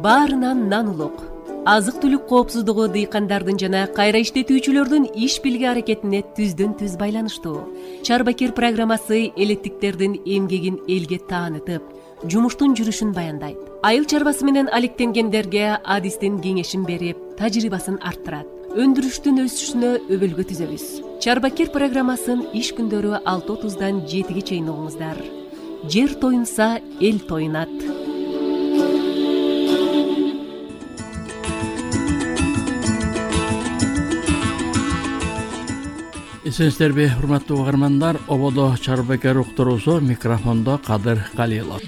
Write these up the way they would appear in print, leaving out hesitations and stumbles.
Баарынан нан улук. Азык-түлүк коопсуздугу дыйкандардын жана кайра иштетүүчүлөрдүн иш бирге аракетине түздөн-түз байланыштуу. Чарбакир программасы элеттиктердин эмгегин элге таанытып, жумуштун жүрүшүн баяндайт. Айыл чарбасы менен алектенгендерге адистин кеңешин берип, тажрыйбасын арттырат. Өндүрүштүн өсүшүнө өбөлгө түзөбүз. Чарбакир программасын иш күндөрү 6:30-дан 7-ге чейин угуңуздар. Жер тоюнса, эл тоюнат. Эсенсиздерби, урматтуу угармандар, ободо Чарбакир уктуруусу, микрофондо Кадыр Калилов.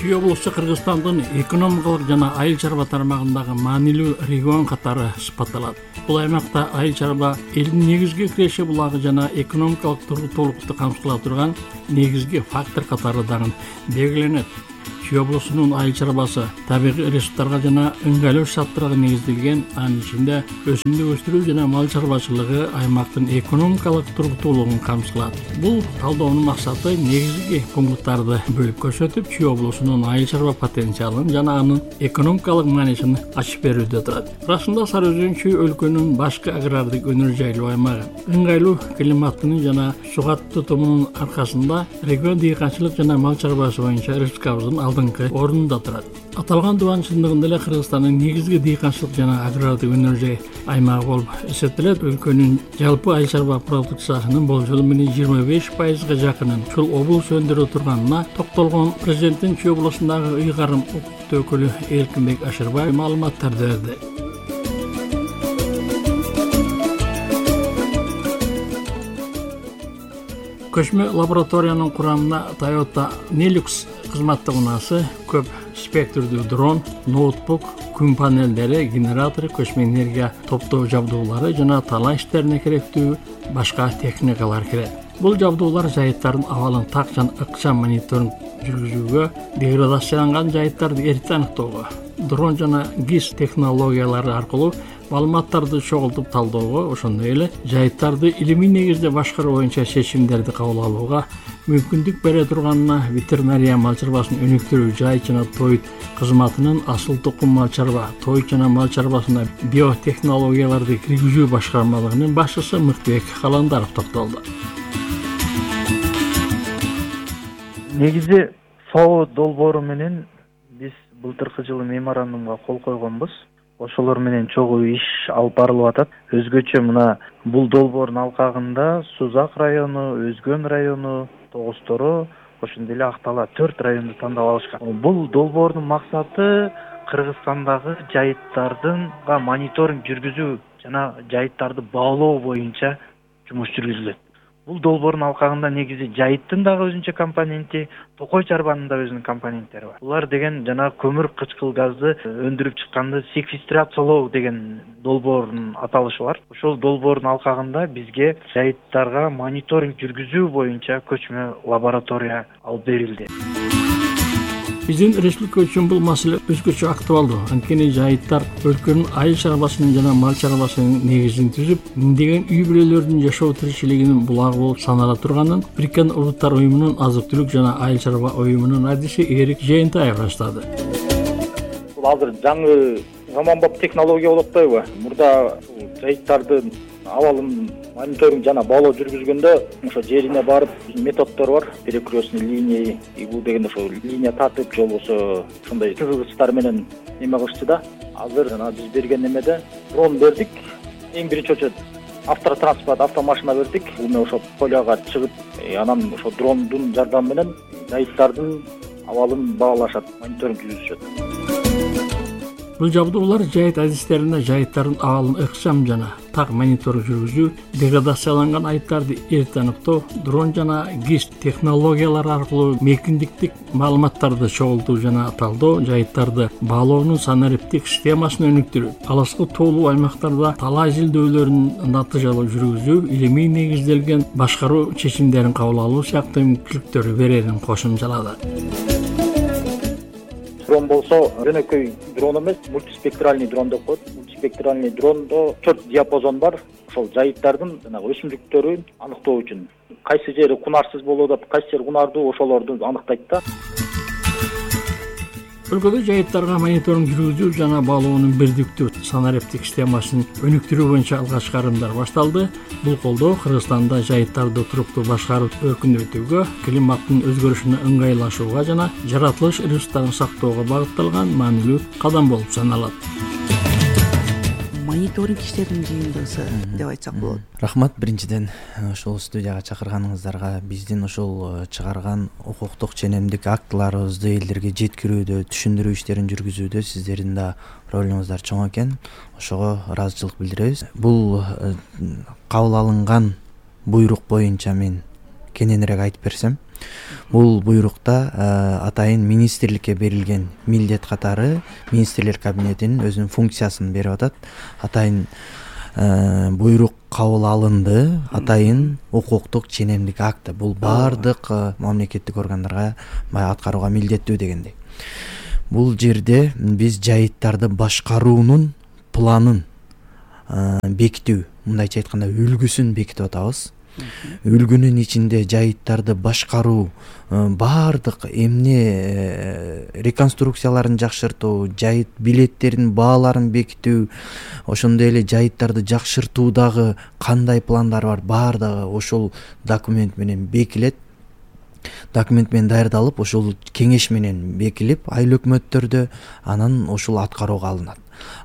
Чүй облусу Кыргызстандын экономикалык жана айыл чарба тармагындагы маанилүү регион катары сыпатталат. Бул аймакта айыл чарба элдин негизги киреши булагы жана экономикалык туруктуулукту камсыздап турган негизги фактор катары дагы белгиленет. Чүй облусунун айыл чарбасы табигый ресурстарга жана ыңгайлуу шарттарга негизделген, анын ичинде өсүмдүк өстүрүү жана мал чарбачылыгы аймактын экономикалык туруктуулугун камсыздап. Бул талдоонун максаты негизги пункттарды бөлүп көрсөтүп, Чүй облусунун айыл чарба потенциалын жана анын экономикалык маанисин ачып берүүдө турат. Расында Сары Өзөн Чүй өлкөнүн башкы агрардык өнөр жайлуу аймагы. Ыңгайлуу климатынын жана суга тутумунун аркасында регион дыйканчылык жана мал чарбасы боюнча республикабыздын алдыңкы орунда турат. Аталган дубан чындыгында эле Кыргызстандын негизги дыйканчылык жана агрардык өнөр жай аймагы болуп эсептелет. Өлкөнүн жалпы айыл чарба продукциясынын болжолу менен 25%га жакынын ушул облус өндүрө турганына токтолгон президенттин Чүй облусундагы ыйгарым укуктуу өкүлү Эркинбек Ашырбаев маалыматтарды берди. Көчмө лабораториянын курамына Toyota Nellux кызматтык унаасы, көп спектрдүү дрон, ноутбук, күн панелдери, генератор, көчмө энергия топтоо жабдуулары жана талаа иштерине керектүү башка техникалар кирет. Бул жабдуулар жайыттардын абалын так жана ыкчам мониторинг жүргүзүүгө, деградацияланган жайыттарды эрте аныктоого, дрон жана GIS технологиялары аркылуу маалыматтарды чогултуп талдоого, ошондой эле жайыттарды илимий негизде башкаруу боюнча чечимдерди кабыл алууга мүмкүндүк бере турганына ветеринария мал чарбасын өнүктүрүү жай жана той кызматынын асыл тукум мал чарба, той жана мал чарбасына биотехнологияларды киргизүү башкармалыгынын башчысы Мыктыбек Каландаров токтолду. Негизи ФАО долбоору менен биз былтыркы жылы меморандумга кол койгонбуз. Ошолор менен чогуу иш алып барылып атат. Өзгөчө мына бул долбоордун алкагында Сузак району, Өзгөн району, Тогуз-Торо, ошондой эле Актала 4 районду тандап алышкан. Бул долбоордун максаты Кыргызстандагы жайыттардынга мониторинг жүргүзүү жана жайыттарды баалоо боюнча жумуш жүргүзүлөт. Бул долбоордун алкагында негизи жайыттын дагы өзүнчө компоненти, токой чарбанын да өзүнүн компоненттери бар. Булар деген жана көмүр кычкыл газды өндүрүп чыкканды секвестрациялоо деген долбоордун аталышы бар. Ошол долбоордун алкагында бизге жайыттарга мониторинг жүргүзүү боюнча көчмө лаборатория алып берилди. Биздин республика үчүн бул маселе өзгөчө актуалдуу. Анткени жайыттар өлкөнүн айыл чарбасынын жана мал чарбасынын негизин түзүп, миңдеген үй бүлөлөрдүн жашоо тиричилигинин булагы болуп санала турганын Бириккен Улуттар уюмунун азык-түлүк жана айыл чарба уюмунун адиси Эрик Жээнтаев баштады. Бул азыр жаңы заманбап технология болуп атпайбы? Мурда жайыттардын абалын мониторинг жана баалоо жүргүзгөндө ошо жерине барып методдор бар, перекрестный линия, бул дегенде ошо линия тартып же болбосо ошондой кызгычтар менен эме кылышты да. Азыр жана биз берген эмеде дрон бердик. Эң биринчи очередь автотранспорт, автомашина бердик. Бул ошо поляга чыгып, анан ошо дрондун жардамы менен жайыттардын абалын баалашат, мониторинг жүргүзүшөт. Бул жабдуулар жайыт адистерине жайыттардын абалын ыкчам жана так мониторинг жүргүзүү, деградацияланган айыттарды эрте аныктоо, дрон жана GIS технологиялары аркылуу мейкиндиктик маалыматтарды чогултуу жана талдоо, жайыттарды баалоонун санариптик системасын өнүктүрүү, алыскы тоолуу аймактарда талаа изилдөөлөрүн натыйжалуу жүргүзүү, илимий негизделген башкаруу чечимдерин кабыл алуу сыяктуу мүмкүнчүлүктөрү берерин кошумчалады. Дрон болсо жөнөкөй дрон эмес, мультиспектральный дрон деп коет. спектральный дрондо 4 диапазон бар. Ошол жайыттардын жанагы өсүмдүктөрүн аныктоо үчүн кайсы жери кунарсыз болуп атат, кайсы жери кунардуу, ошолорду аныктайт да. Өлкөдө жайыттарга мониторинг жүргүзүү жана баалоонун бирдиктүү санариптик системасын өнүктүрүү боюнча алгачкы карымдар башталды. Бул колдоо Кыргызстанда жайыттарды туруктуу башкарып өркүндөтүүгө, климаттын өзгөрүшүнө ыңгайлашууга жана жаратылыш ресурстарын сактоого багытталган маанилүү кадам болуп саналат. Мониторинг иштеринин жыйындысы деп айтсак болот. Рахмат биринчиден ушул студияга чакырганыңыздарга, биздин ушул чыгарган укуктук ченемдик актыларыбызды элдерге жеткирүүдө, түшүндүрүү иштерин жүргүзүүдө сиздердин да ролуңуздар чоң экен. Ошого ыраазычылык билдиребиз. Бул кабыл алынган буйрук боюнча мен кененирээк айтып берсем, бул буйрукта атайын министрликке берилген милдет катары министрлер кабинетинин өзүнүн функциясын берип атат. Атайын буйрук кабыл алынды, атайын укуктук ченемдик акты. Бул баардык мамлекеттик органдарга аткарууга милдеттүү дегендей. Бул жерде биз жайыттарды башкаруунун планын бекитүү, мындайча айтканда үлгүсүн бекитип атабыз. Үлгүнүн ичинде жайыттарды башкаруу, баардык эмне реконструкцияларын жакшыртуу, жайыт билеттеринин бааларын бекитүү, ошондой эле жайыттарды жакшыртуудагы кандай пландар бар, баардыгы ошол документ менен бекилет. Документ менен даярдалып, ошол кеңеш менен бекилип, айыл өкмөттөрдө анан ошол аткарууга алынат.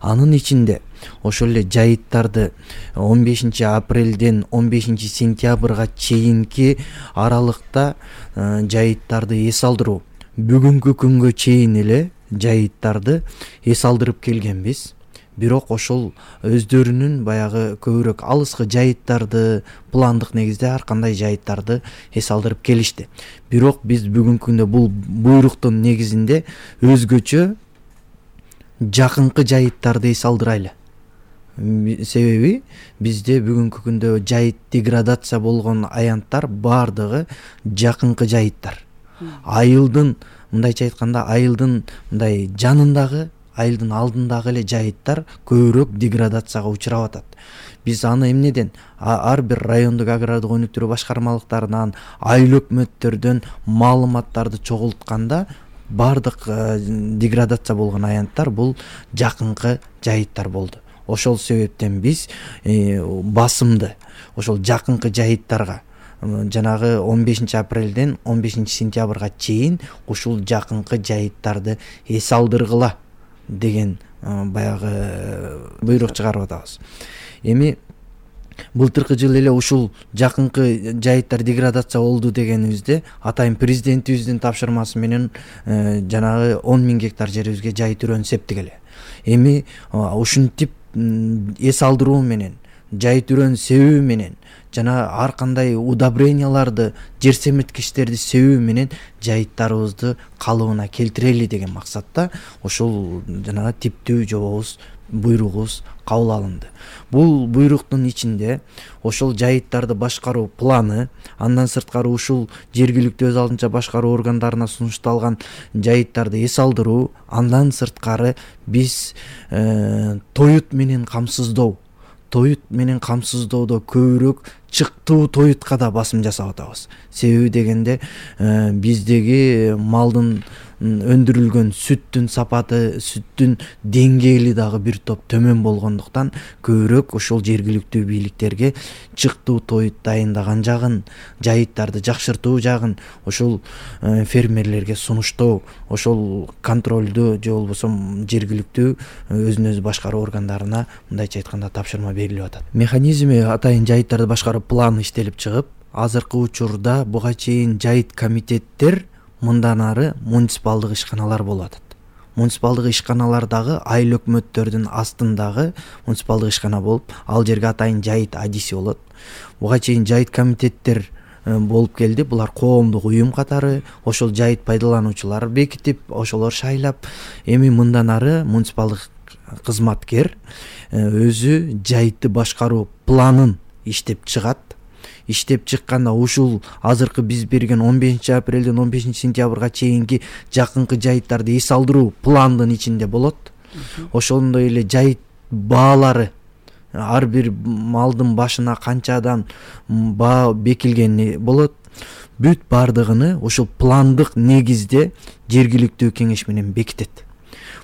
Анын ичинде ошол эле жайыттарды 15 апрелден 15 сентябрга чейинки аралыкта жайыттарды эс алдыруу. Бүгүнкү күнгө чейин эле жайыттарды эс алдырып келгенбиз. Бирок ошол өздөрүнүн баягы көбүрөөк алыскы жайыттарды пландык негизде ар кандай жайыттарды эс алдырып келишти. Бирок биз бүгүнкү күндө бул буйруктун негизинде өзгөчө жакынкы жайыттарды эс алдырайлы. Себеби бизде бүгүнкү күндө жайыт деградация болгон аянттар баардыгы жакынкы жайыттар. Айылдын, мындайча айтканда, айылдын мындай жанындагы, айылдын алдындагы эле жайыттар көбүрөөк деградацияга учурап атат. Биз аны эмнеден? Ар бир райондук агрардык өнүктүрүү башкармалыктарынан, айыл өкмөттөрдөн маалыматтарды чогултканда баардык деградация болгон аянттар бул жакынкы жайыттар болду. Ошол себептен биз басымды ошол жакынкы жайыттарга жанагы 15 апрелден 15 сентябрга чейин ушул жакынкы жайыттарды эс алдыргыла деген баягы буйрук чыгарып атабыз. Эми былтыркы жылы эле ушул жакынкы жайыттар деградация болду дегенибизде атайын президентибиздин тапшырмасы менен жанагы 10 000 гектар жерибизге жайыт үрөн септик эле. Эми ушинтип эс алдыруу менен, жайыт үрөн себүү менен жана ар кандай удобренияларды, жер семирткичтерди себүү менен жайыттарыбызды калыбына келтирели деген максатта ошол жанагы типтүү жобобуз, буйругубуз кабыл алынды. Бул буйруктун ичинде ошол жайыттарды башкаруу планы, андан сырткары ушул жергиликтүү өз алдынча башкаруу органдарына сунушталган жайыттарды эс алдыруу, андан сырткары биз тоют менен камсыздоо, көбүрөөк чыктуу тоютка да басым жасап атабыз. Себеби дегенде биздеги малдын өндүрүлгөн сүттүн сапаты, сүттүн деңгээли дагы бир топ төмөн болгондуктан көбүрөөк ошол жергиликтүү бийликтерге чыктуу тоют дайындаган жагын, жайыттарды жакшыртуу жагын ошол фермерлерге сунуштоо, ошол контролдүү же болбосо жергиликтүү өзүн өзү башкаруу органдарына мындайча айтканда тапшырма берилип атат. Механизми атайын жайыттарды башкаруу планы иштелип чыгып, азыркы учурда буга чейин жайыт комитеттер мындан ары муниципалдык ишканалар болуп атат. Муниципалдык ишканалардагы айыл өкмөттөрдүн астындагы муниципалдык ишкана болуп, ал жерге атайын жайыт адиси болот. Буга чейин жайыт комитеттер болуп келди. Булар коомдук уюм катары ошол жайыт пайдалануучулар бекитип, ошолор шайлап, эми мындан ары муниципалдык кызматкер өзү жайытты башкаруу планын иштеп чыгат. Иштеп чыкканда ушул азыркы биз берген 15 апрелден 15 сентябрга чейинки жакынкы жайыттарды эс алдыруу пландын ичинде болот. Ошондой эле жайыт баалары, ар бир малдын башына канчадан баа бекилгени болот, бүт бардыгыны ошол пландык негизде жергиликтүү кеңеш менен бекитет.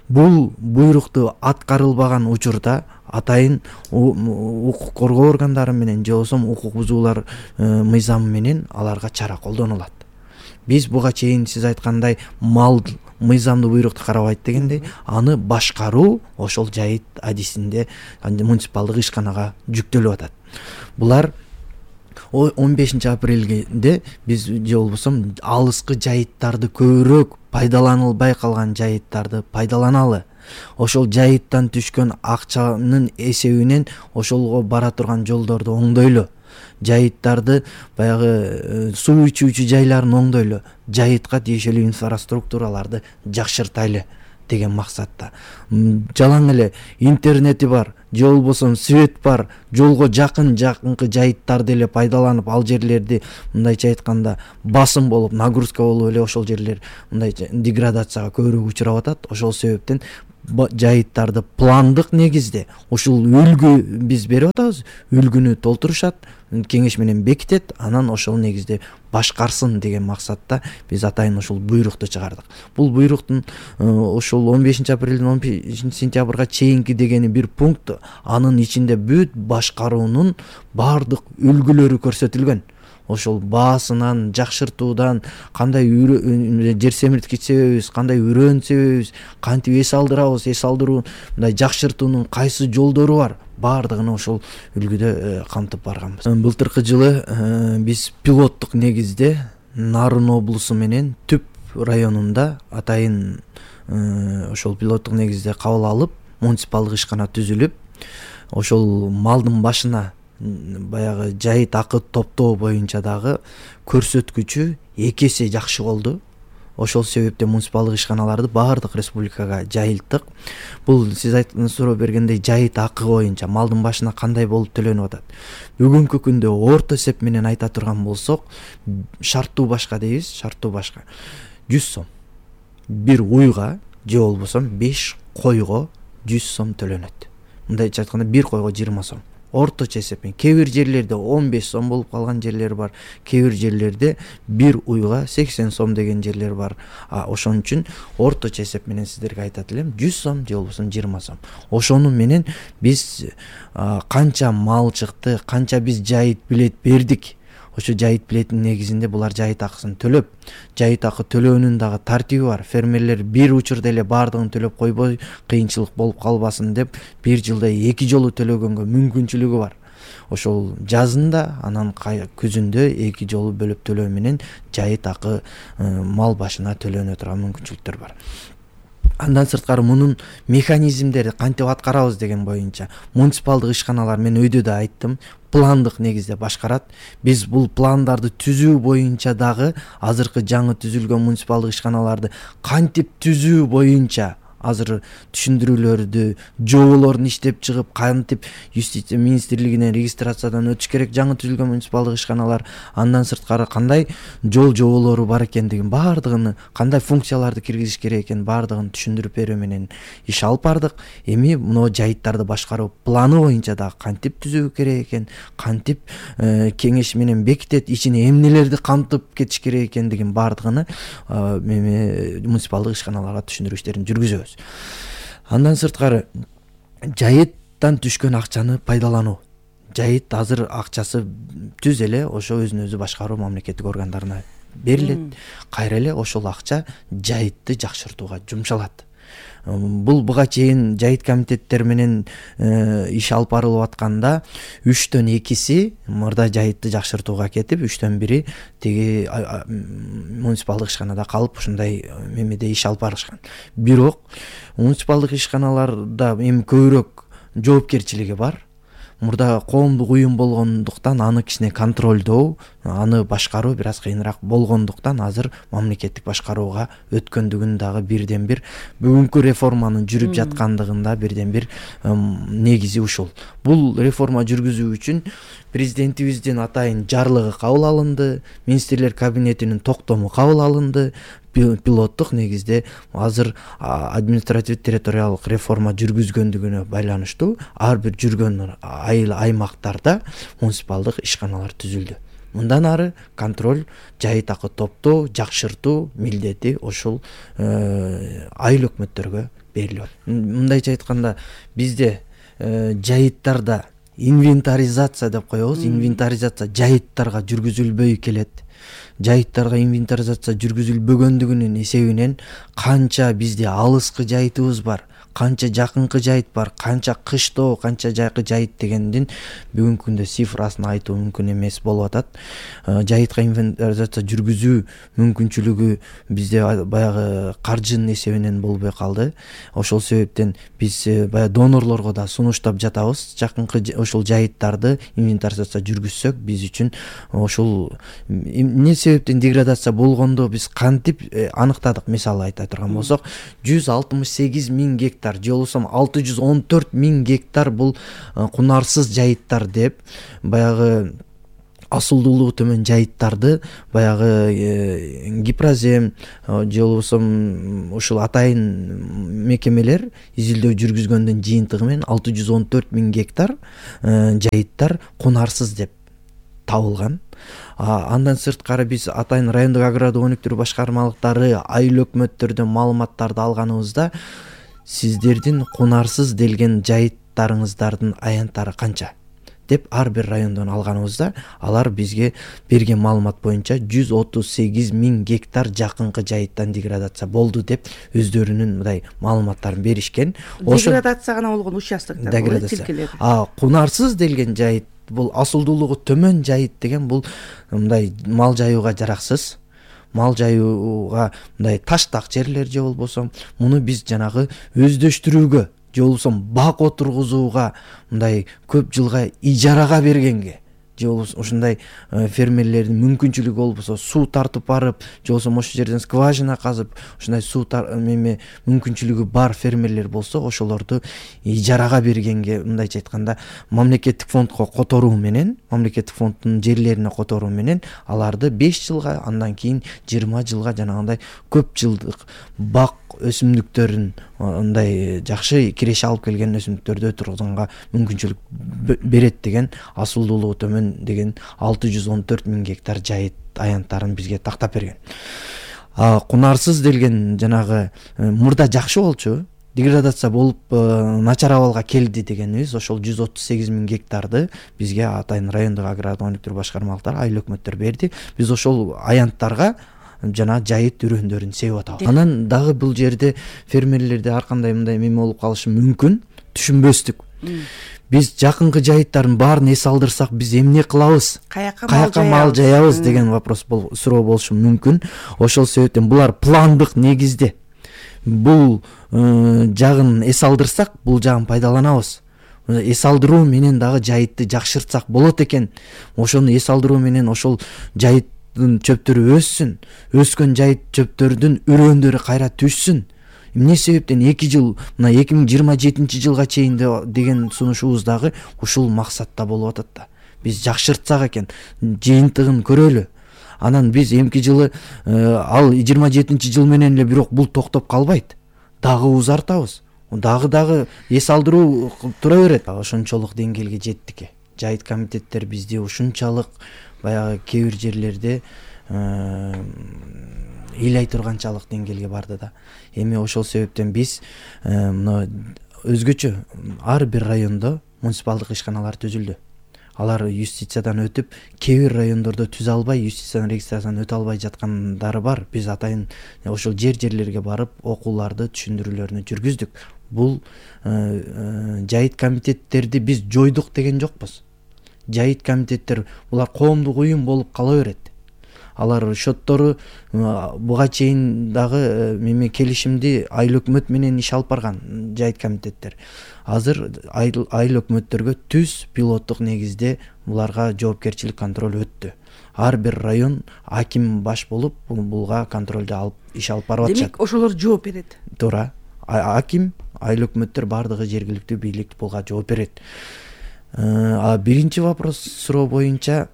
Бул буйрукту аткарылбаган учурда атайын укук коргоо органдары менен же болбосо укук бузуулар мыйзамы менен аларга чара колдонулат. Биз буга чейин сиз айткандай мыйзамдуу буйрукту карабайт дегендей, аны башкаруу ошол жайыт адисинде муниципалдык ишканага жүктөлүп атат. Булар 15 апрелде биз же болбосо алыскы жайыттарды көбүрөөк пайдаланылбай калган жайыттарды пайдаланалы. Ошол жайыттан түшкөн акчанын эсебинен ошолго бара турган жолдорду оңдойлу. Жайыттарды баягы суу ичүүчү жайларын оңдойлу. Жайытка тиешелүү инфраструктураларды жакшыртайлы деген максатта. Жалаң эле интернети бар, же болбосо свет бар, жолго жакынкы жайыттарды эле пайдаланып, ал жерлерди мындайча айтканда басым болуп, нагрузка болуп эле ошол жерлер мындайча деградацияга көбүрөөк учурап атат. Ошол себептен жайыттарды пландык негизде ушул үлгү биз берип атабыз, үлгүнү толтурушат, кеңеш менен бекитет, анан ошол негизде башкарсын деген максатта биз атайын ушул буйрукту чыгардык. Бул буйруктун ошол 15 апрелден 15 сентябрга чейинки дегени бир пункт, анын ичинде бүт башкаруунун бардык үлгүлөрү көрсөтүлгөн. Ошол баасынан, жакшыртуудан, кандай жер семирткич себебибиз, кандай үрөөн себебибиз, кантип эс алдырабыз, эс алдыруу мындай жакшыртуунун кайсы жолдору бар, бардыгын ошол үлгүдө камтып барганбыз. Былтыркы жылы биз пилоттук негизде Нарын облусу менен Түп районунда атайын ошол пилоттук негизде кабыл алып, муниципалдык ишкана түзүлүп, ошол малдын башына баягы жайыт акы топтоо боюнча дагы көрсөткүчү 2 эсе жакшы болду. Ошол себептен муниципалдык ишканаларды баардык республикага жайылттык. Бул сиз суроо бергендей жайыт акы боюнча малдын башына кандай болуп төлөнүп атат. Бүгүнкү күндө орто эсеп менен айта турган болсок, шарттуу башка дейбиз, шарттуу башка 100 сом. Бир уйга же болбосо 5 койго 100 сом төлөнөт. Мындайча айтканда бир койго 20 сом. Орточо эсеппен кээ бир жерлерде 15 сом болуп калган жерлер бар, кээ бир жерлерде бир уйга 80 сом деген жерлер бар. Ошон үчүн орточо эсеп менен сиздерге айтат элем 100 сом же болбосо 20 сом. Ошону менен биз канча мал чыкты, канча биз жайыт билет бердик. Ошо жайыт билетинин негизинде булар жайыт акысын төлөп, жайыт акы төлөөнүн дагы тартиби бар. Фермерлер бир учурда эле бардыгын төлөп койбой, кыйынчылык болуп калбасын деп, бир жылда 2 жолу төлөгөнгө мүмкүнчүлүгү бар. Ошол жазында, анан күзүндө 2 жолу бөлүп төлөө менен жайыт акы мал башына төлөнө турган мүмкүнчүлүктөр бар. Андан сырткары мунун механизмдери кантип аткарабыз деген боюнча муниципалдык ишканалар, мен өйдө да айттым, пландык негизде башкарат. Биз бул пландарды түзүү боюнча дагы азыркы жаңы түзүлгөн муниципалдык ишканаларды кантип түзүү боюнча азыр түшүндүрүүлөрдү, жоболорун иштеп чыгып, кантип юстиция министрлигинен регистрациядан өтүш керек жаңы түзүлгөн муниципалдык ишканалар, андан сырткары кандай жоболору бар экендигин бардыгын, кандай функцияларды киргизиш керек экенин бардыгын түшүндүрүп берүү менен иш алып бардык. Эми мына жайыттарды башкаруу планы боюнча дагы кантип түзүү керек экен, кантип кеңеш менен бекитет, ичине эмнелерди камтып кетиш керек экендигин бардыгын муниципалдык ишканаларга түшүндүрүү иштерин жүргүзөбүз. Андан сырткары жайыттан түшкөн акчаны пайдалануу. Жайыт азыр акчасы түз эле ошо өзүн өзү башкаруу мамлекеттик органдарына берилет. Кайра эле ошол акча жайытты жакшыртууга жумшалат. Бул буга чейин жайыт комитеттер менен иш алып барылып атканда 3төн 2си мурда жайытты жакшыртууга кетип, 3төн 1 тиги муниципалдык ишканада калып ушундай мемеде иш алып барышкан. Бирок муниципалдык ишканаларда эми көбүрөөк жоопкерчилиги бар. Мурда коомдук уюм болгондуктан аны кичине контролдоо, аны башкаруу бир аз кыйыныраак болгондуктан азыр мамлекеттик башкарууга өткөндүгүн дагы бирден бир бүгүнкү реформанын жүрүп жаткандыгында бирден бир негизи ушул. Бул реформа жүргүзүү үчүн президентибиздин атайын жарлыгы кабыл алынды, министрлер кабинетинин токтому кабыл алынды, пилоттук негизде азыр административдик территориалдык реформа жүргүзгөндүгүнө байланыштуу ар бир жүргөн аймактарда муниципалдык ишканалар түзүлдү. Мындан ары контроль, жай такы топтоо, жакшыртуу милдети ошол айыл өкмөттөргө берилет. Мындайча айтканда бизде жайыттарда инвентаризация деп коебуз. Инвентаризация жайыттарга жүргүзүлбөй келет. Жайыттарга инвентаризация жүргүзүлбөгөндүгүнүн эсебинен канча бизде алыскы жайытыбыз бар, канча жакынкы жайыт бар, канча кыштоо, канча жайкы жайыт дегендин бүгүнкү күндө цифрасын айтуу мүмкүн эмес болуп атат. Жайытка инвентаризация жүргүзүү мүмкүнчүлүгү бизде баягы каржынын эсебинен болбой калды. Ошол себептен биз баягы донорлорго да сунуштап жатабыз. Жакынкы ошол жайыттарды инвентаризация жүргүзсөк, биз үчүн ошол эмне себептен деградация болгондо биз кантип аныктадык. Мисалы айта турган болсок, 168 000 гектар же болбосо 614 000 гектар бул кунарсыз жайыттар деп баягы асылдуулугу төмөн жайыттарды баягы Гипрозем же болбосо ушул атайын мекемелер изилдөө жүргүзгөндүн жыйынтыгы менен 614 000 гектар жайыттар кунарсыз деп табылган. Андан сырткары биз атайын райондук агрардык өнүктүрүү башкармалыктары айыл өкмөттөрдөн маалыматтарды алганыбызда сиздердин кунарсыз делген жайыттарыңыздардын аянттары канча деп ар бир райондон алганыбызда алар бизге берген маалымат боюнча 138 000 гектар жакынкы жайыттан деградация болду деп өздөрүнүн мындай маалыматтарын беришкен. Деградация гана болгон участоктор тилкелер. Кунарсыз делген жайыт бул асылдуулугу төмөн жайыт деген бул мындай мал жайууга жараксыз. Мал жайууга мындай таштак жерлер же болбосо муну биз жанагы өздөштүрүүгө же болбосо бак отургузууга мындай көп жылга ижарага бергенге же болбосо ушундай фермерлердин мүмкүнчүлүгү болбосо суу тартып барып же болбосо ошол жерден скважина казып ушундай суу мүмкүнчүлүгү бар фермерлер болсо ошолорду ижарага бергенге мындайча айтканда мамлекеттик фондко которуу менен, мамлекеттик фонддун жерлерине которуу менен аларды 5 жылга, андан кийин 20 жылга жанагындай көп жылдык бак өсүмдүктөрүн мындай жакшы киреше алып келген өсүмдүктөрдү тургузганга мүмкүнчүлүк берет деген асылдуулугу төмөн деген 614 000 гектар жайыт аянттарын бизге тактап берген. Кунарсыз делген жанагы мурда жакшы болчу, деградация болуп начар абалга келди дегенибиз ошол 138 000 гектарды бизге атайын райондук агрардык өнүктүрүү башкармалыктары айыл өкмөттөр берди. Биз ошол аянттарга жана жайыт үрөндөрүн себип атабыз. Анан дагы бул жерде фермерлерде ар кандай мындай эме болуп калышы мүмкүн, түшүнбөстүк. Биз жакынкы жайыттардын баарын эс алдырсак биз эмне кылабыз? Каяка мал жаябыз деген вопрос суроо болушу мүмкүн. Ошол себептен булар пландык негизде. Бул жагын эс алдырсак, бул жагын пайдаланабыз. Эс алдыруу менен дагы жайытты жакшыртсак болот экен. Ошону эс алдыруу менен ошол жайыттын чөптөрү өссүн. Өскөн жайыт чөптөрдүн үрөндөрү кайра түшсүн. Эмне себептен 2 жыл, мына 2027 жылга чейин деген сунушубуз дагы ушул максатта болуп атат да. Биз жакшыртсак экен, жыйынтыгын көрөлү. Анан биз эмки жылы ал 27 жыл менен эле бирок бул токтоп калбайт. Дагы узартабыз. Дагы эс алдыруу тура берет. Ошончолук деңгээлге жеттик. Жайыт комитеттер бизди ушунчалык баягы кээ бир жерлерде ыйлай турганчалык деңгээлге барды да. Эми ошол себептен биз мына өзгөчө ар бир райондо муниципалдык ишканалар түзүлдү. Алар юстициядан өтүп, кээ бир райондордо түзө албай, юстициядан регистрациядан өтө албай жаткандары бар. Биз атайын ошол жерлерге барып окууларды, түшүндүрүүлөрүнү жүргүздүк. Бул жайыт комитеттерди биз жойдук деген жокпуз. Жайыт комитеттер булар коомдук уюм болуп кала берет. Алар шоттору буга чейин дагы келишимди айыл өкмөт менен иш алып барган жайыт комитеттер. Азыр айыл өкмөттөргө түз пилоттук негизде буларга жоопкерчилик контроль өттү. Ар бир район аким баш болуп булга контролду алып иш алып барып атышат. Демек ошолор жооп берет. Туура. Аким, айыл өкмөттөр бардыгы жергиликтүү бийлик булга жооп берет. Биринчи вопрос суроо боюнча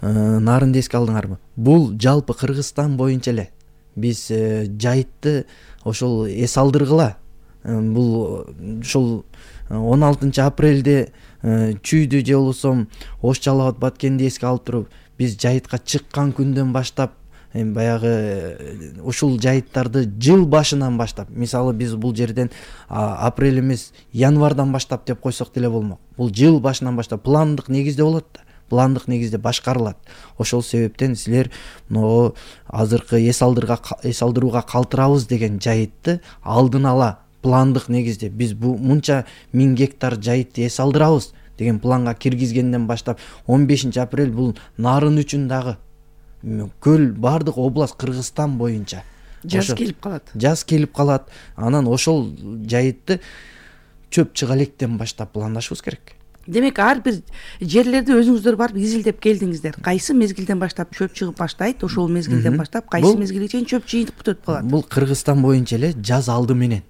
нарынды эске алдыңарбы? Бул жалпы Кыргызстан боюнча эле биз жайытты ошол эс алдыргыла. Бул ушул 16 апрелде чүйдү же болбосо ош жалап баткенди эске алып туруп биз жайытка чыккан күндөн баштап баягы ушул жайыттарды жыл башынан баштап, мисалы биз бул жерден апрель эмес январдан баштап деп койсок деле болмок. Бул жыл башынан баштап пландык негизде болот да, пландык негизде башкарылат. Ошол себептен силер могу азыркы эс алдырууга калтырабыз деген жайытты алдын ала пландык негизде биз бу мынча 1000 гектар жайытты эс алдырабыз деген планга киргизгенден баштап 15 апрель бул нарын үчүн дагы көл бардык область Кыргызстан боюнча жаз келип калат. Жаз келип калат. Анан ошол жайытты чөп чыга электен баштап пландашыбыз керек. Демек ар бир жерлерди өзүңүздөр барып изилдеп келдиңиздер. Кайсы мезгилден баштап чөп чыгып баштайт, ошол мезгилден баштап кайсы мезгилге чейин чөп жыйынтып бүтөт калат. Бул Кыргызстан боюнча эле жаз алды менен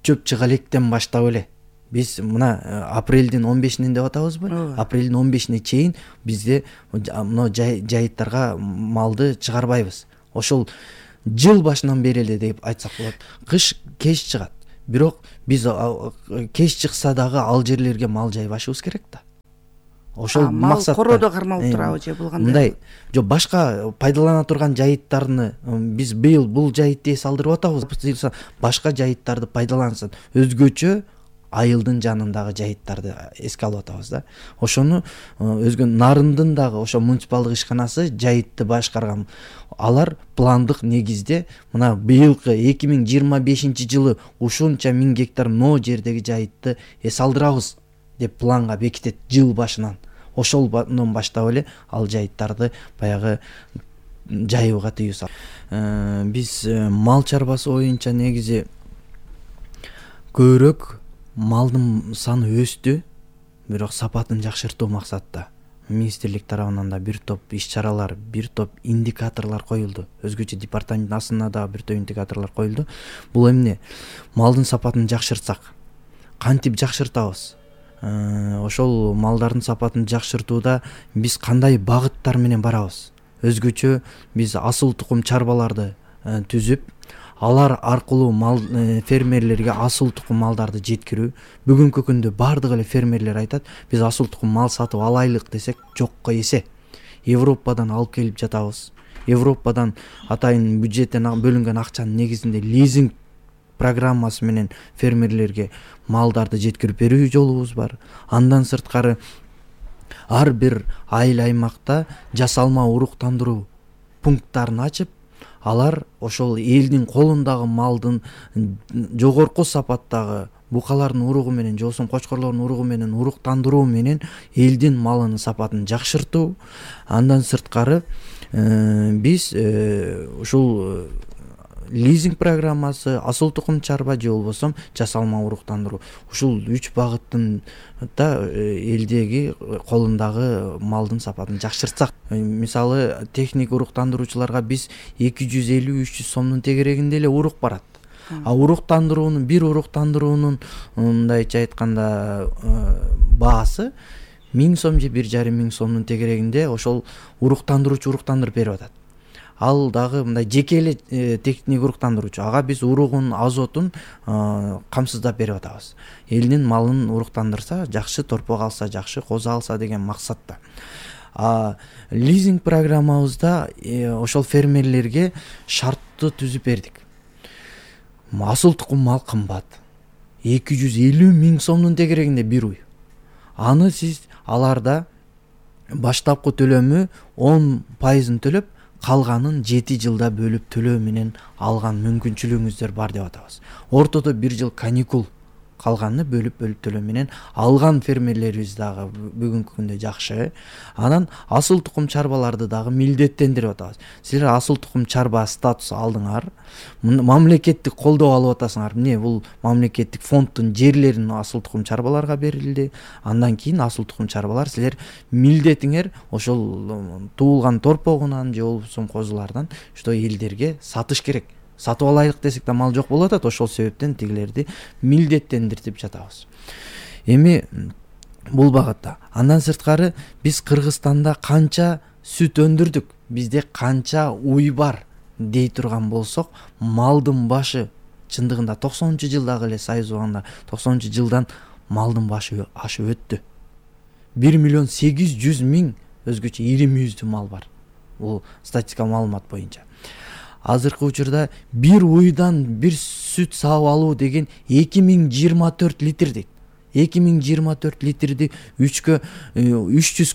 чөп чыга электен баштап эле биз мына апрелдин 15-ин деп атабызбы? Апрелдин 15-ине чейин бизде мына жайыттарга малды чыгарбайбыз. Ошол жыл башынан бери эле деп айтсак болот. Кыш кеч чыгат. Бирок биз кеч чыкса дагы ал жерлерге мал жайбашыбыз керек да. Ошол максатта короодо кармалып турабы же булгандай. Мындай жок, башка пайдалана турган жайыттарны биз быйыл бул жайытты эс алдырып атабыз. Башка жайыттарды пайдалансын. Өзгөчө айылдын жанындагы жайыттарды эске алып атабыз да. Ошону өзгө Нарындын дагы ошо муниципалдык ишканасы жайытты башкарган. Алар пландык негизде мына быйылкы 2025 жылы ушунча 1000 гектар но жердеги жайытты эс алдырабыз деп планга бекитет жыл башынан. Ошолдон баштап эле ал жайыттарды баягы жайууга тыюу салат. Биз мал чарбасы боюнча негизи көбүрөөк малдын саны өстү, бирок сапатын жакшыртуу максатта министрлик тарабынан да бир топ иш-чаралар, бир топ индикаторлор коюлду. Өзгөчө департаменттин астында да бир топ индикаторлор коюлду. Бул эмне? Малдын сапатын жакшыртсак, кантип жакшыртабыз? Ошол малдардын сапатын жакшыртууда биз кандай багыттар менен барабыз? Өзгөчө биз асыл тукум чарбаларды түзүп, алар аркылуу фермерлерге асыл тукум малдарды жеткирүү. Бүгүнкү күндө бардык эле фермерлер айтат, биз асыл тукум мал сатып алайлык десек жокко эсе. Европадан алып келип жатабыз. Европадан атайын бюджеттен бөлүнгөн акчанын негизинде лизинг программасы менен фермерлерге малдарды жеткирип берүү жолубуз бар. Андан сырткары ар бир айыл аймакта жасалма уруктандыруу пункттарын ачып, алар ошол элдин колундагы малдын жогорку сапаттагы букалардын уругу менен же болбосо кочкорлордун уругу менен уруктандыруу менен элдин малынын сапатын жакшыртуу. Андан сырткары биз ушул лизинг программасы, асыл тукум чарба же болбосо жасалма уруктандыруу, ушул 3 багыттын да элдеги колундагы малдын сапатын жакшыртсак, мисалы техник уруктандыруучуларга биз 250-300 сомдун тегерегинде эле урук барат. Уруктандыруунун, бир уруктандыруунун мындайча айтканда баасы 1000 сом же 1,5 сомдун тегерегинде ошол уруктандыруучу уруктандырып берип атат. Ал дагы мындай жеке эле техник уруктандыруучу. Ага биз уругун, азотун камсыздап берип атабыз. Элдин малын уруктандырса жакшы, торпок алса жакшы, козу алса деген максатта. Лизинг программабызда ошол фермерлерге шартты түзүп бердик. Асыл тукум мал кымбат. 250 000 сомдун тегерегинде бир уй. Аны сиз аларда баштапкы төлөмү 10% төлөп, калганын 7 жылда бөлүп төлөө менен алган мүмкүнчүлүгүңүздөр бар деп атабыз. Ортодо 1 жыл каникул, калганын бөлүп төлөө менен алган фермерлерибиз дагы бүгүнкү күндө жакшы. Анан асыл тукум чарбаларды дагы милдеттендирип атабыз. Силер асыл тукум чарба статусу алдыңар, мамлекеттик колдоо алып атасыңар. Эмне бул мамлекеттик фонддун жерлерин асыл тукум чарбаларга берилди. Андан кийин асыл тукум чарбалар силер милдетиңер ошол туулган торпогунан же болбосо козулардан что элдерге сатыш керек. Сатып алайлык десек да мал жок болуп атат. Ошол себептен тигилерди милдеттендиртип жатабыз. Эми бул багытта. Андан сырткары биз Кыргызстанда канча сүт өндүрдүк, бизде канча уй бар дей турган болсок, малдын башы чындыгында 90-жылдагы эле Союз убагында 90-жылдан малдын башы ашып өттү. 1.800.000 өзгөчө ири мүйүздүү мал бар. Бул статистика маалымат боюнча. Азыркы учурда бир уйдан бир сүт саап алуу деген 2024 литр дейт. 2024 литрди 300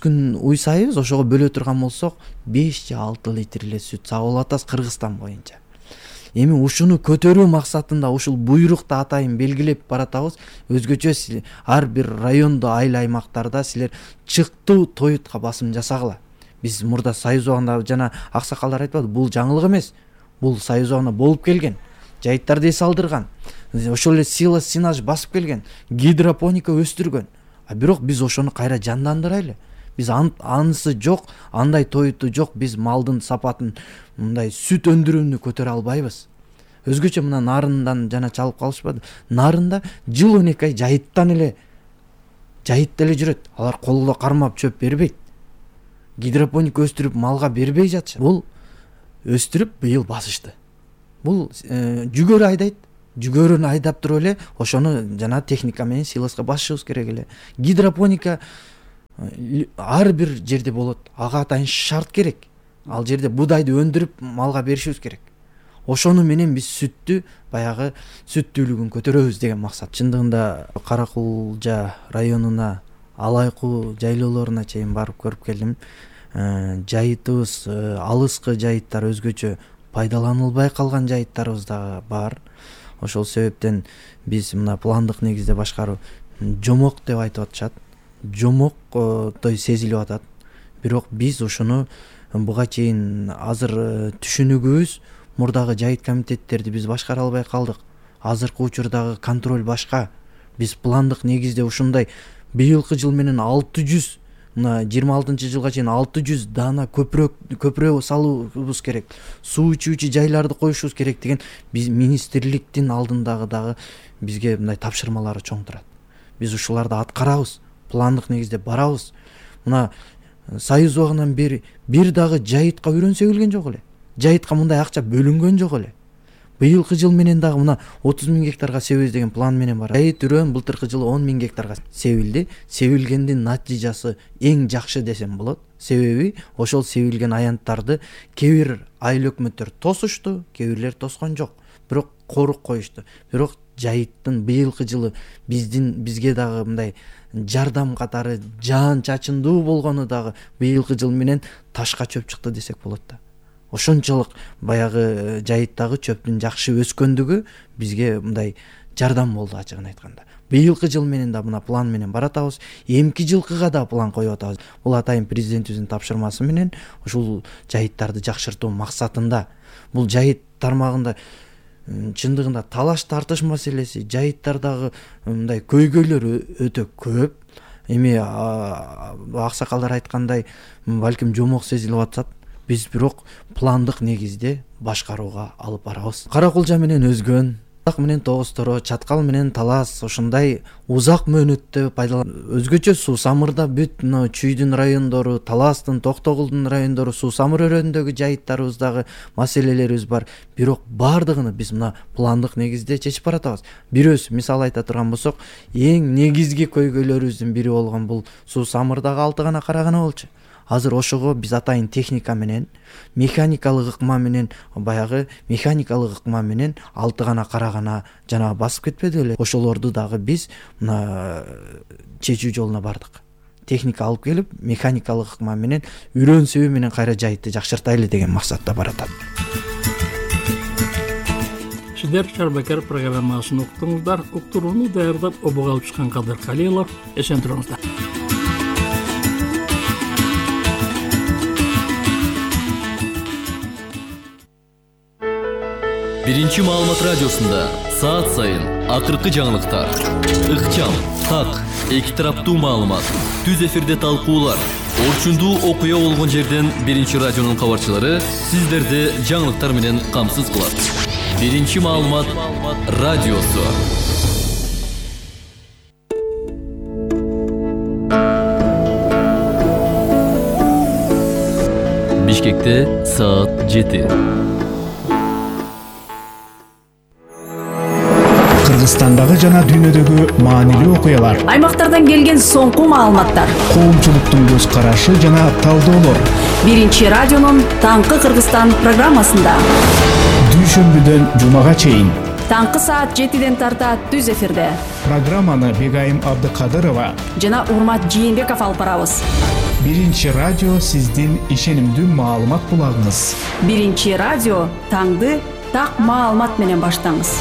күн уй сайбыз, ошого бөлө турган болсок 5 же 6 литр эле сүт саап алып атабыз Кыргызстан боюнча. Эми ушуну көтөрүү максатында ушул буйрукта атайын белгилеп баратабыз. Өзгөчө ар бир райондо, айыл аймактарда силер чыктуу тоютка басым жасагыла. Биз мурда Союз убагында жана аксакалдар айтпады, бул жаңылык эмес. Бул Союз убагында болуп келген. Жайыттарды эс алдырган. Ошол эле сила синаж басып келген. Гидропоника өстүргөн. Бирок биз ошону кайра жандандырайлы. Биз анысы жок, андай тоюту жок, биз малдын сапатын, мындай сүт өндүрүүнү көтөрө албайбыз. Өзгөчө мына нарындан жана чалып калышпады. Нарында жыл 12 ай жайыттан эле жүрөт. Алар колдо кармап чөп бербейт. Гидропоника өстүрүп малга бербей жатышат. Бул өстүрүп быйыл басышты. Бул жүгөрү айдайт. Жүгөрүнү айдап туруп эле ошону жана техника менен силоска басышыбыз керек эле. Гидропоника ар бир жерде болот. Ага атайын шарт керек. Ал жерде будайды өндүрүп малга беришибиз керек. Ошону менен биз сүттү, баягы сүттүүлүгүн көтөрөбүз деген максат. Чындыгында Каракулжа районуна, Алайкуу жайлоолоруна чейин барып көрүп келдим. Жайытыбыз, алыскы жайыттар өзгөчө пайдаланылбай калган жайыттарыбыз да бар. Ошол себептен биз мына пландык негизде башкаруу жомок деп айтып атышат. Жомоктой сезилип атат. Бирок биз ошону буга чейин азыр түшүнүгүбүз, мурдагы жайыт комитеттерди биз башкара албай калдык. Азыркы учурдагы контроль башка. Биз пландык негизде ушундай быйылкы жыл менен 600, мына 26-жылга чейин 600 даана көпүрө салуубуз керек. Суу ичүүчү жайларды коюшубуз керек деген биз министрликтин алдындагы дагы бизге мындай тапшырмалары чоң турат. Биз ушуларды аткарабыз. Пландык негизде барабыз. Мына Союз убагынан бери бир дагы жайытка үрөн себилген жок эле. Жайытка мындай акча бөлүнгөн жок эле. Быйылкы жыл менен дагы мына 30.000 гектарга себебиз деген план менен бар. Жайыт үрөн былтыркы жылы 10.000 гектарга себилди. Себилгендин натыйжасы эң жакшы десем болот. Себеби ошол себилген аянттарды кээ бир айыл өкмөттөр тосушту, кээ бирлер тоскон жок. Бирок корук коюшту. Бирок жайыттын быйылкы жылы бизге дагы мындай жардам катары жаан чачындуу болгону дагы быйылкы жыл менен ташка чөп чыкты десек болот да. Ошончолук баягы жайыттагы чөптүн жакшы өскөндүгү бизге мындай жардам болду ачыгын айтканда. Быйылкы жыл менен да мына план менен баратабыз. Эмки жылкыга да план коюп атабыз. Бул атайын президентибиздин тапшырмасы менен ушул жайыттарды жакшыртуу максатында. Бул жайыт тармагында чындыгында талаш тартыш маселеси, жайыттардагы мындай көйгөйлөр өтө көп. Эми аксакалдар айткандай, балким жомок сезилип атат. Биз бирок пландык негизде башкарууга алып барабыз. Каракулжа менен Өзгөн, менен Тогуз-Торо, Чаткал менен Талас ушундай узак мөөнөттө өзгөчө Суу Самырда бүт Чүйдүн райондору, Таластын, Токтогулдун райондору, Суу Самыр өрөөнүндөгү жайыттарыбыздагы маселелерибиз бар. Бирок бардыгын биз мына пландык негизде чечип баратабыз. Бирөөсү мисал айта турган болсок, эң негизги көйгөйлөрүбүздүн бири болгон бул Суу Самырдагы 6 гана карагана болчу. Азыр ошого биз атайын техника менен, механикалык ыкма менен, баягы механикалык ыкма менен 6 гана карагана жана басып кетпеди эле. Ошолорду дагы биз мына чечүү жолуна бардык. Техника алып келип, механикалык ыкма менен үрөн себи менен кайра жайытты жакшыртайлы деген максатта баратат. Сиздер Чарбакер программасын уктуңуздар. Уктурууну даярдап обого алып чыккан Кадыр Калилов. Эсен туруңуздар. Биринчи маалымат радиосунда саат сайын акыркы жаңылыктар, ыкчам, так, эки тараптуу маалымат, түз эфирде талкуулар, орчундуу окуя болгон жерден Биринчи радионун кабарчылары сиздерди жаңылыктар менен камсыз кылат. Биринчи маалымат радиосу. Бишкекте саат 7. Кыргызстандагы жана дүйнөдөгү маанилүү окуялар, аймактардан келген соңку маалыматтар, коомчулуктун көз карашы жана талдоолор. Биринчи радионун Таңкы Кыргызстан программасында Дүйшөмбүдөн жумага чейин таңкы саат 7ден тарта түз эфирде программаны Бегайым Абдыкадырова жана Урмат Жээнбеков алып барабыз. Биринчи радио сиздин ишенимдүү маалымат булагыңыз. Биринчи радио таңды так маалымат менен баштаңыз.